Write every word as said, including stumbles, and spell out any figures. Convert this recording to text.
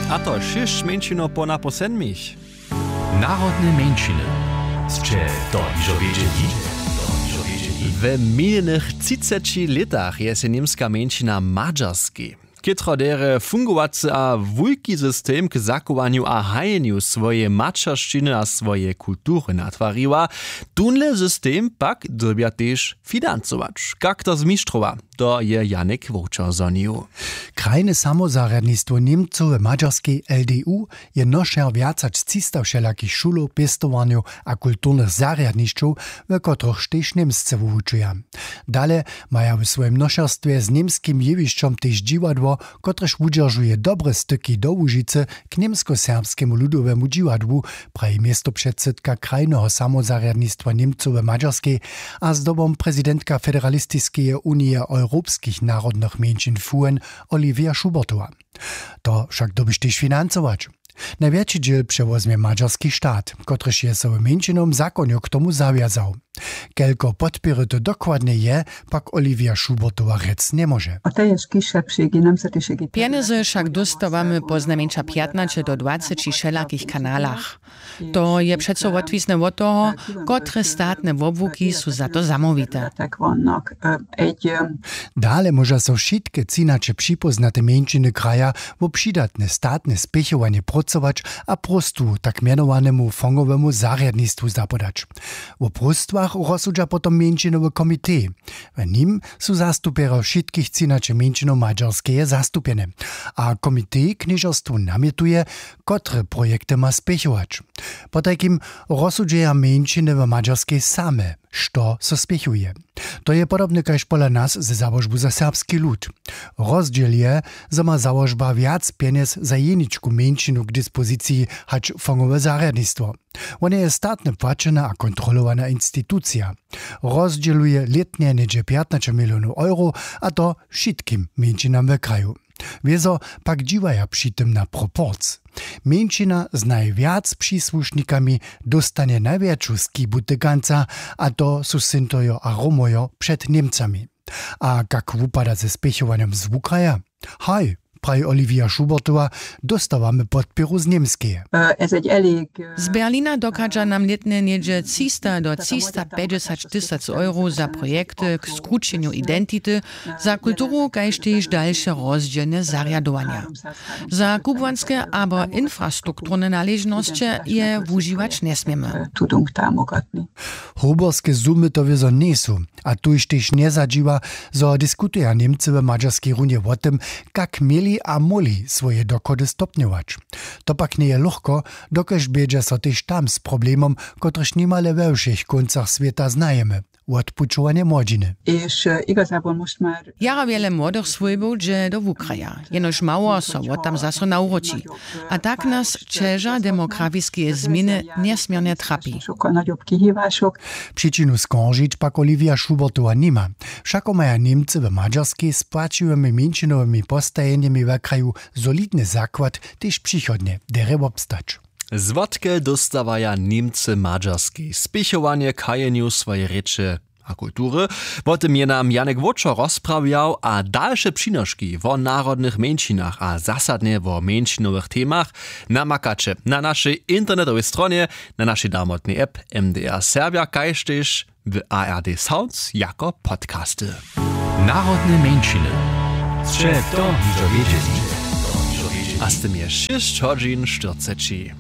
A to šěsć mjeńšinow po napoł sedmich. Narodne mjeńšiny. Sće to hižo wědźeli? We minjenych třiceći lětach je sej němska mjeńšina w Madźarskej, chětro derje fungowacy a wulki system k zachowanju a hajenju swojeje maćeršćiny a swojeje kultury natwariła, tónle system pak dyrbja tež financować. Kak to zmištrowa, to je Janik Wowčer zhonił. Krajne samozarjadnistwo Němcow w Madźarskej, L D U, je nošer wjac hač třista wšelakich šulow, pěstowarnjow a kulturnych zarjadnišćow, w kotrychž tež Němsce wuwučuja. Dale maja w swojim nošerstwje z němskim jewišćom tež dźiwadło, kotrež wudźeržuje dobre styki do Łužicy k Němskoserbskemu ludowemu dźiwadłu, praji městopředsydka krajneho samozarjadnistwa Němcow w Madźarskej a zdobom prezidentka Federalistiskeje unije europskich narodnych mjeńšin FUEN Olivia Schubertowa. To wšak dyrbiš tež financować. Najwjetši dźěl přewozmje madźarski stat, kotryž je so w mjeńšinowym zakonju k tomu zawjazał. Kelko podpěry to dokładnje je, pak Olivia Schubertowa rjec njemóže. A to je kiša při ginam se tež. Pjenjezy wšak dóstawamy poznajmjeńša pjatnaće do dwaceći wšelakich kanalach. To je přeco wotwisne wot toho, kotre statne wobłuki su za to zamołwite. Dale móža so wšitke třinaće připóznate mjeńšiny kraja wo přidatne statne spěchowanje prócować a próstwu tak mjenowanemu fongowemu zarjadnistwu zapodać. Wo próstwach rozsudźa potom mjeńšinowy komitej. W nim su zastupjerjo wšitkich třinaće mjeńšinow Madźarskeje zastupjene. A komitej knježerstwu namjetuje, kotre projekty ma spěchować. Potajkim rozsudźeja mjeńšiny w Madźarskej same, što so spěchuje. To je podobne kaž pola nas ze załožbu za serbski lud. Rozdźěl je, zo ma załožba wjac pjenjez za jeničku mjeńšinu k dispoziciji hač fongowe zarjadnistwo. Wone je statne płaćena a kontrolowana institucija. Rozdźěluje lětnje něhdźe pjatnaće milionow euro, a to wšitkim mjeńšinam w kraju. Wězo pak dźiwaja při tym na proporc. Mjeńšina z najwjac přisłušnikami dóstanje najwjetšu skibu tykanca, a to su Sintojo a Romojo před Němcami. A kak wupada ze spěchowanjom z wukraja? Haj, praji Olivia Schubertowa, dóstawamy podpěru z Němskeje. Z Berlina dochadźa nam lětnje něhdźe třista do třista pjećdźesać tysac euro za projekty k skrućenju identity, za kulturu kaž tež dalše rozdźělne zarjadowanja. Za kubłanske abo infrastrukturne naležnosće je wužiwać njesměmy. Hoberske sumy to wězo njejsu. A tuž tež njezadźiwa, zo diskutuja Němcy w Madźarskej runje wo tym, kak měli a móhli swoje dochody stopnjować. To pak njeje lochko, dokelž bědźa so tež tam z problemom, kotryž nimale we wšěch kóncach swěta znajemy, wotpućowanje młodźiny. Jara wjele młodych swójbow dźe do wukraja, jenož mało so wot tam zaso nawróći. A tak nas ćeža demografiskeje změny njesměrnje trapi. Přičinu skoržić pak Olivia Schubertowa nima. Wšako maja Němcy w Madźarskej z płaćiwymi mjeńšinowymi postajenjemi w kraju solidny zakład, tež přichodnje derje wobstać. Zwotke dóstawaja Němcy w Madźarskej spěchowanje k hajenju swojeje rěče a kultury? Wo tym je nam Janek Wóčer rozprawjał, a dalše přinoški wo narodnych mjeńšinach a zasadnje wo mjeńšinowych temach namakaće na našej internetowej stronje, na našej damotnej app M D R Serbja kaž tež w A R D Sounds jako podcasty. Narodne mjeńšiny. Sće to hižo wědźeli? A z tym je šěsć hodźin štyrceći.